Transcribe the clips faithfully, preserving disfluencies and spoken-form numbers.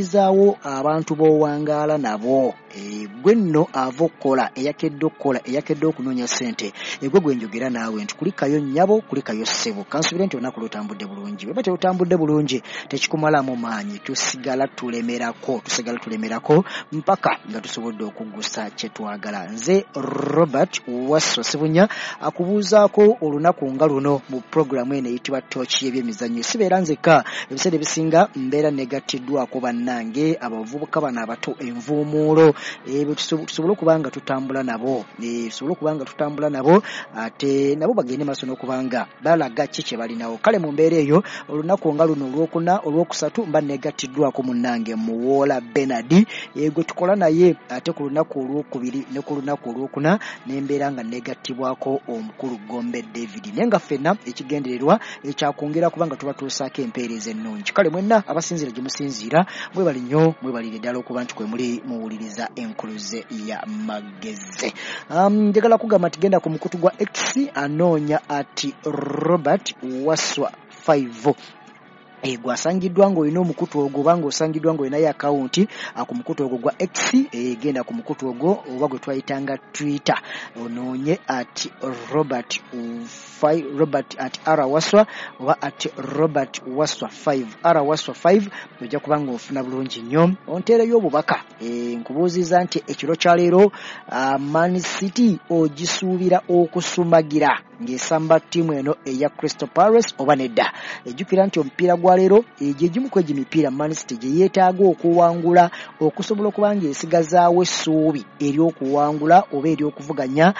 Zaawo abantu b'owangaala nabo. Gwe nno ava okukola, eyakedde okukola, eyakedde okunoonya ssente, egwe gwe njogera naawe nti kulikayo nnyabo, kulikayo ssebo. Kansuubire nti olunaku lutambudde bulungi. Bweba terutambudde bulungi, tekikumalamu maanyi, tusigala tulemerako, tusigala tulemerako mpaka nga tusobodde okuggusa kye twagala. Nze Robert Wasswa Ssebunya akubuuzaako olunaku nga luno mu pulogulaamu eno eyitibwa Ttooki y'ebyemizannyo. Sibeera nzekka, ebiseera ebisinga mbeera negattiddwako bannange abavubuka bano abato envuumuulo, tusobole okuba nga tutambula nabo, tusobole okuba nga tutambula nabo ate nabo bagende maaso n'okuba nga balaga ki kye balinawo. Kale mu mbeera eyo olunaku nga luno olwokuna olwokusatu mba negattiddwako munnange Muwoola Bernard gwe tukola naye, ate ku lunaku olwokubiri ne ku lunaku olwokuna nembeera nga negattibwako omukulu Gombe David, naye nga ffenna ekigendererwa ekyakwongera kuba nga tubatuusaako empeereza ennungi. Kale mwenna abasinziira gye musinziira, mwebale nnyo, mwebalire ddala okuba nti kwe muli muwuliriza Enkuluze ya Magezi. Njagala kugamba nti genda ku mukutu gwa X, anoonya ati Robert Wasswa five. Gwasangiddwa ng'olina omukutu ogwo oba ng'osangiddwa ng'olinayo akawunti ku mukutu ogwo gwa X, genda ku mukutu ogwo oba gwe twayitanga Twitter, onoonye at Robert Robert at R Wasswa oba at Robert Wasswa five, R Wasswa five, ojja kuba ng'ofuna bulungi nnyo. Onteereyo obubaka, nkubuuziza nti ekiro kya leero Man City ogisuubira okusumagira ng'esamba ttiimu eno eya Crystal Palace oba nedda? Ejjukira nti omupiira gwa leero egyo egimu ku egyo emipiira Man City gye yeetaaga okuwangula okusobola okuba ng'esigazaawo essuubi ery'okuwangula oba ery'okuvuganya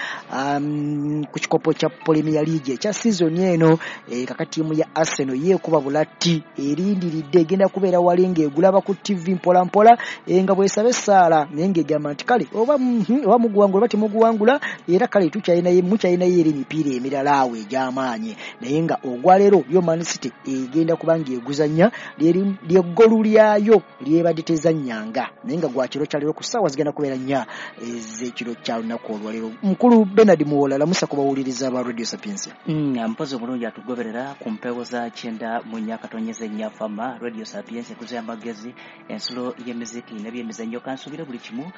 ku kikopo kya Premier League ekya sizoni eno. Kaka ttiimu ya Arsenal yeekuba bulatti, erindiridde, egenda kubeera wali ng'egulaba ku T V mpola mpola nga bw'esaba essaala, naye ng'egamba nti kale oba oba muguwangula oba temuguwangula, era kale tukyalinayo mukyalinayo eri emipiira emirala awo egy'amaanyi. Naye nga ogwaleero yo Man City egenda kuba ng'eguzannya lyeggolu lyayo lyebadde tezannyanga, naye nga gwa kiro kya leero ku ssaawa zigenda kubeera nnya ez'ekiro kya lunaku olwaleero. Mukulu Bernard Muwoola, lamusa ku bawuliriza ba Radio Sapientia. Mpozi obulungi atugoberera ku mpewo za kyenda mu nnya katonyeze nnya fama Radio Sapientia, enkuza y'amagezi, ensulo y'emiziki n'ebyemizannyo. Kansuubire buli kimu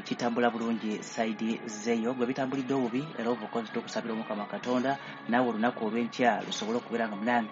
kitambula bulungi saidi zeeyo, gwe bitambulidde obubi era obukozi tukusabira Omukama Katonda naawe olunaku olw'enkya lusobole okubeera nga munange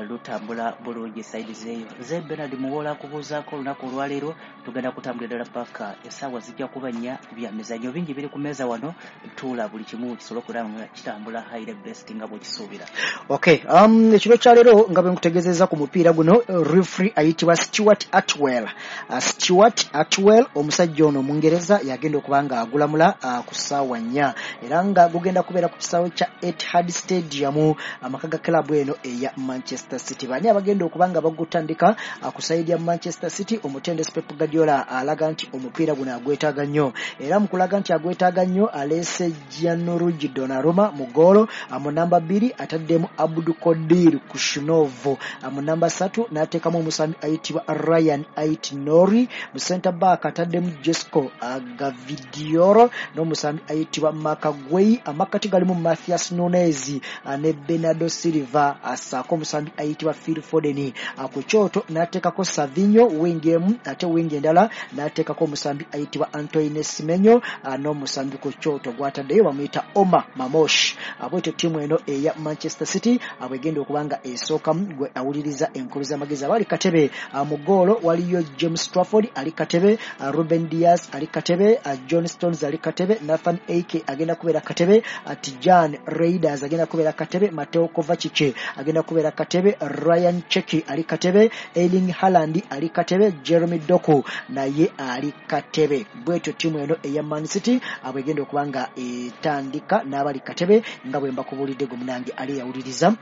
lutambula bulungi saidi zeeyo. Nze Bernard Muwoola akubuuzaako olunaku olwaleero, tugenda kutambulira ddala paka essaawa zijja kuba nnya. Bya mizannyo bingi biri ku mmeeza wano, tuula buli kimu kisobole okubeera nga kitambula highly best nga bw'okisuubira. Okay, um, ekiro kya leero nga bwe nkutegeezezza ku mupiira guno, referee ayitibwa Stuart Atwell. Uh, Stuart Atwell omusajja ono Omungereza yagenda okuba nga agulamula uh, ku ssaawa nnya, era nga gugenda kubeera ku kisaawe kya Etihad Stadium, amaka ga club eno eya Manchester City. Bani abagenda okuba nga bagutandika ku sayidi ya Manchester City? Omutendesi Pep Guardiola alaga nti omupiira guno agwetaaga nnyo, era mu kulaga nti agwetaaga nnyo aleese Gianluigi Donnarumma mu ggoolo, mu namba bbiri ataddemu Abdukodir Khusanov, mu namba ssatu n'ateekamu omusambi ayitibwa Ryan Ait-Nouri, mu center back ataddemu Josko Gvardiol n'omusambi ayitibwa Marc Guehi, amakkati galimu Matheus Nunes ne Bernardo Silva, assaako omusambi ayitibwa Phil Foden. Ku kyoto n'ateekako Savinho wingi emu, ate wingi endala n'ateekako omusambi ayitibwa Antoine Semenyo, n'omusambi ku kyoto gw'ataddeyo bamuyita Omar Marmoush. Bwetyo ttiimu eno eya Manchester City bwegenda okuba nga esookamu. Gwe awuliriza enkulu z'amagezi, abali katebe mu ggoolo waliyo James Trafford ali katebe, Ruben Dias ali katebe, John Stones ali katebe, Nathan Ake agenda kubeera katebe, Tijan Reijnders agenda kubeera katebe, Mateo Kovacic agenda kubeera katebe, Ryan Cherki ali katebe, Erling Haaland ali katebe, Jeremy Doku naye ali katebe. Bwetyo ttiimu eno eya Man City bwegenda okuba nga etandika n'abali katebe nga bwe mbakubuulidde. Gwe munange ali yawuliriza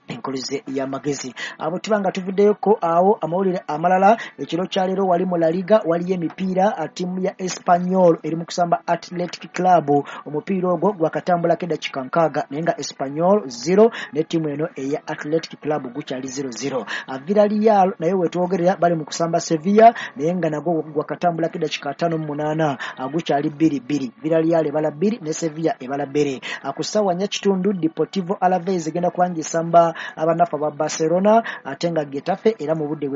Enkuluze y'Amagezi, abo tuba nga tuvuddeyoko awo amawulire amalala. Ekiro kya leero wali mu La Liga waliyo emipiira, ttiimu ya Espanyol eri mu kusamba Athletic Club, omupiira ogwo gwakatambulako eddakiika nkaaga, naye nga Espanyol zero ne ttiimu eno eya Athletic Club gukyali zero zero. Villarreal naye wetwogerera bali mu kusamba Sevilla, naye nga nagwo gwakatambulako eddakiika ataano mu munaana, gukyali bbiri bbiri. Villarreal ebala bbiri ne Sevilla ebala bbiri. Ku ssaawa nnya kitundu Deportivo Alaves egenda kuba ng'esamba abanafu aba Barcelona ate nga Getafe era mu budde